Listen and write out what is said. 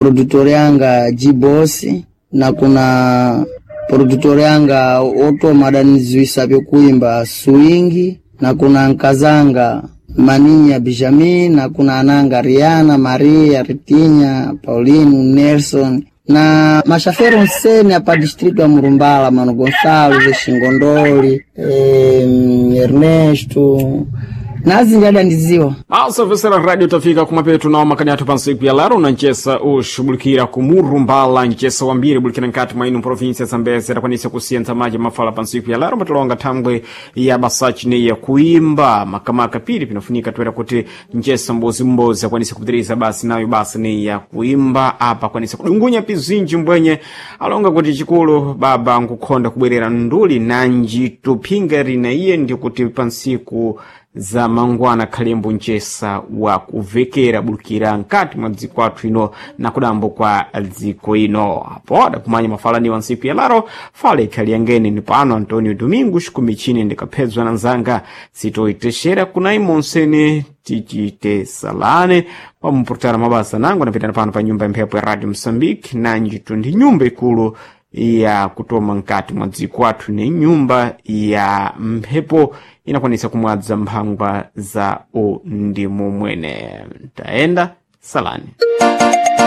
Produtor yanga G-Boss na kuna produtor yanga otoma adaniziwisa vyokuimba Swingi na kuna nkazanga Maninya Benjamin na kuna ananga Riana, Maria, Ritinya, Paulino, Nelson na mashafero nsene apa distritu ya Murumbala, Mano Gonçalves, Shingondoli, Ernesto nazinji adandiziwa. Asafesera radio tafika kumapetu nao makani athu pansiku ya lero na ncesa uxubulikira kumurumbala ncesa wambiri bulikira nkati mwa inu província ya Zambezi adakwanisa kusiyentsa maji mafala pansiku ya lero matilonga thangwe ya basachi ne ya kuimba makamaka pili pinafunika toera kuti ncesa mbozimbozi akwanisa kupitiriza basi nayo basi ne ya kuimba apa akwanisa kudungunya pizinji mbwenye alonga kuti chikulu baba nkukhonda kubwerera nduli nanji tuphinga rina iye ndi kuti pansiku za mangwana khalembo ncesa wa kuvekera bulukira nkati mwa dziko athu ino na kudambo kwa dziko ino apo adakumanya mafalaniwa ntsiku ya laro fala ikhali yangene ni pano Antonio Domingos kumichini ndikaphedzwa na nzanga sitoitexera kunai monsene tichite salane pamupurutana mabasa nangu anapitana pano pa nyumba ya mphepo ya Radio Mosambike nanjitu ndi nyumba ikulu ya kutoma nkati mwa dziko athu ni nyumba ya mphepo inakwanisa kumwadza mphangwa za undimu mwene. Tayenda salani.